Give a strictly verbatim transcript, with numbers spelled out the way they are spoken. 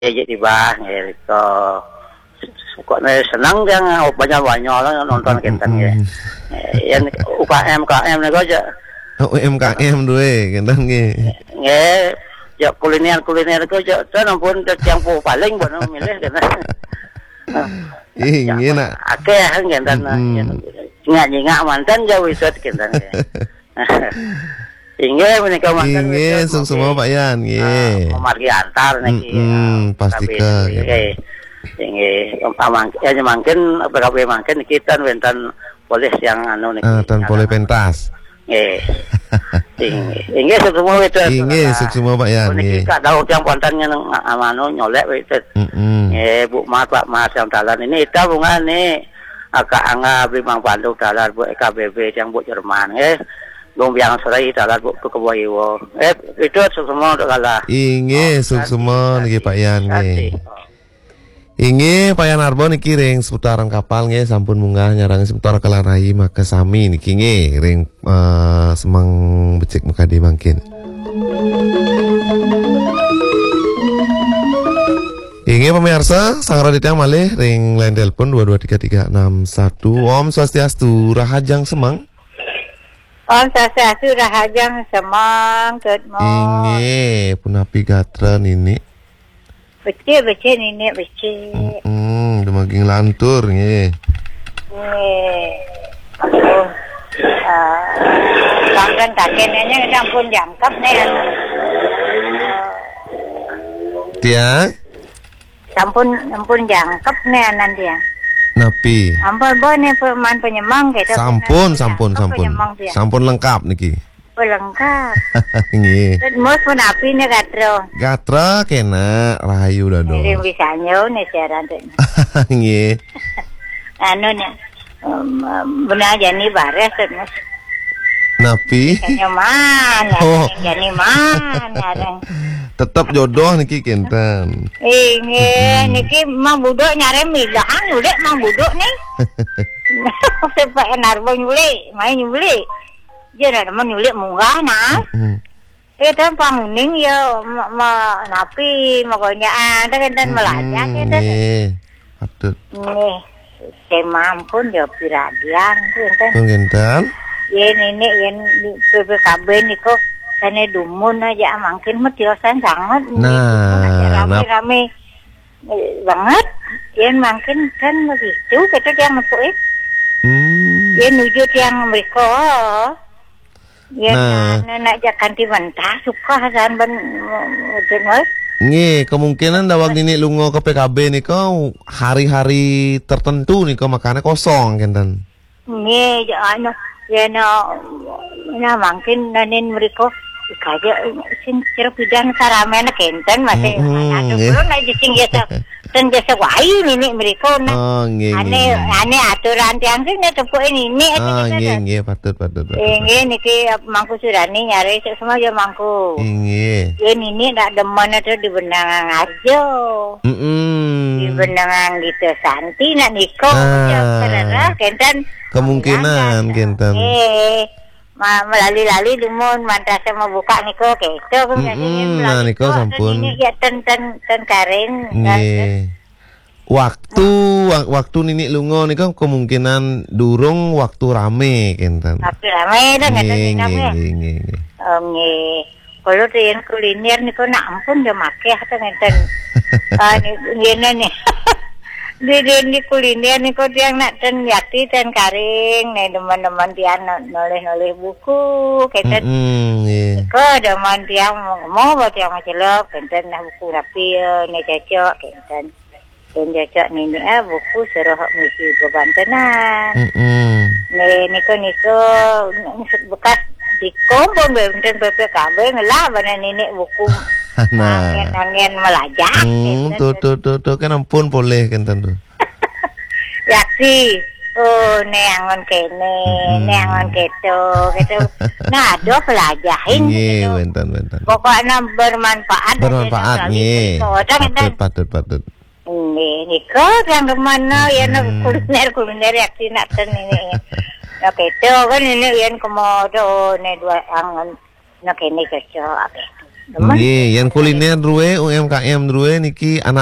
Nggih, tiba nggih rika. Kok ne seneng tiang banyol-banyol nonton kinten nggih. Yen U K M, U K M niku aja. Oh, U M K M duwe kinten nggih. Nggih, ya kuliner-kuliner niku aja ten ampun tiang pu paling pun milih kinten. Ih, nggih nak. Akeh kinten. Nyingak-nyingak manten ya wisut kinten nggih. Inggih, menika mangkin Inggih, wekdal suksma, Pak Yan, nggih. Ah, memargi antar niki, Mm-mm, ah, pasti P K B ke, nggih. Inggih, amang-, ya, mangkin P K B mangkin niki ten wenten polih yang anu niki, Ah, ten polih pentas. Nggih. Inggih, inggih, suksma wekdal, Inggih, saudara. Suksma, Pak Yan, Puniki nggih. Kak Daud yang ponten ngen, anu, nyolek wekdal. Mm-mm. Nggih, Bu Mat, Pak Mat yang dalan ini, ita bunga ni, Kak Angga, Bimang Pandu dalan, Bu K B B yang Bu Jerman, nggih. Gombiang Sri dalan Bu Kebo Iwo. Eh, itu suksma untuk kala. Inggih, Oh, suksma niki Pak Yan nggih. Inggih, Pak Yan Arbo niki ring seputaran kapal nggih, sampun munggah nyarang seputar Kelarai maka sami niki nggih ring, eh, semeng becik mekadi mangkin. Inggih pemirsa, sang raditya malih ring line telepon dua dua tiga tiga enam satu. Om Swastiastu, Rahajeng Semeng. Om Swastiastu, Rahajeng Semeng, good morning. Inggih, punapi gatra nini? Becik, becik nini, becik. Mm-mm, dumagi nglantur nggih. Nggih. Aduh. Ah, sampun kakenane sampun jangkep nih. Tiang? Sampun, sampun jangkep nih anan tiang. Napi? Ampun, bo nih peman penyemang gitu. Sampun, sampun, Jangkep sampun. Penyemang tiang. Sampun lengkap niki. Oh, lengkap. Nggih. Terus mus punapi nih gatra? Gatra kena rahayu dados. Ngiring bisa nyau nih siaran tuh. Nggih. Anu nih. Em, em, benar jani bares tuh, Mas. Napi? Nyaman, Oh. Jani man, nyareng. Tetep jodoh niki kinten. Inggih, Mm-mm. Niki Mang Buduk nyareng milahan ulik Mang Buduk nih. Sepak enarbo nyulik, main nyulik. Dia nak demen nyulik munggah nah. Mm-mm. Eh, kan panguning ya, ma-, ma-, napi, makonyaan, kan, kan, Mm-mm, melajah, kan, kan. Nggih, patut. Nggih, saya mampun ya, piradian, kan, kan. Pun kinten. Ya, nenek, ya, di P P K B niku, sana dumun aja, mangkin mah tiosan sangat. Nah, Aja nap- rame-rame, eh, banget. Ya, mangkin kan begitu, kata tiang nepuk, eh. Hmm. Ya, nuju tiang mereka. Ya, Nah. Nah, nak jak kanti mentah, suka hasan ben, mm, dengar. Nggih, kemungkinan daweg nini lunga ke P K B nika hari-hari tertentu nika makane kosong kinten. Nggih, ya, anu, ya, no, nah, mangkin nanin mereka, kaja, sing, cerpidan karamena kinten, masih, Mm-mm, anu, nggih. Belum nak jising ya, Ten jasa wai nini mereka, nah. Oh, nggih, Ane, nggih, nggih. Ane aturan tiang sih, nek tepuk ini, ini aja Ah, kita nggih, dah. Nggih, patut, patut, patut, Eh, nggih, patut. Niki, eh, mangku surani nyari sik semua ya mangku. Nggih. Ya, nini nak demen ada di Benangan Arjo. Mm-mm. Di Benangan gitu, Santi, nak niko, Ah. Ya, kerana, kenten. Kemungkinan, Bilang, kenten. Eh, ma-, melali-lali dumun, mantas sama buka niko, gitu, aku Mm-mm, biasanya nah, melali niko kok, sampun. Nini ya ten, ten, ten karing, Nggih. Waktu, wa-, waktu nini lunga nika kemungkinan durung waktu rame kinten. Waktu rame dah, ngeten Nggih, nggih, nggih, nggih, nggih. Oh, nggih. Kalau tu yang kuliner niku nak ampun dia makeh tu ngeten. Ah, ni, ngene ni. Di, di, di kuliner niku tiang nak ten yati, ten karing, ni teman-teman tiang nak nulis-nulis buku, keten. Mm-mm, nggih. Ko teman tiang mau, mau buat tiang macelok, keten nah buku rapi, eh, ni cocok, keten. Yen cocok nini, ah, buku suruh misi bebantenan. Mm-mm. Nih, niku, niku, bekas dikom pun benten P P K B ngelah bana nini buku. Nah. Angin-angin melajah, Hmm, gitu. Tuh, tuh, tuh, tuh, kan ampun boleh kan tentu. Yaksi. Oh, neangon kene, Mm-mm. Neangon keto, gitu. Nah, ada pelajahin, Nggih, gitu. Wenten, wenten. Pokoknya bermanfaat, Bermanfaat, ada nggih. Cerita, ada, Patut, gitu. Patut, patut. Nggih, nika kang kemana ya, nak Mm-mm. Kuliner-kuliner ya, nak ten ini. Nak keto kan ini yen kemodo, ne dua angen. Nak ini keco, apa itu? Nggih, yen kuliner duwe, U M K M duwe niki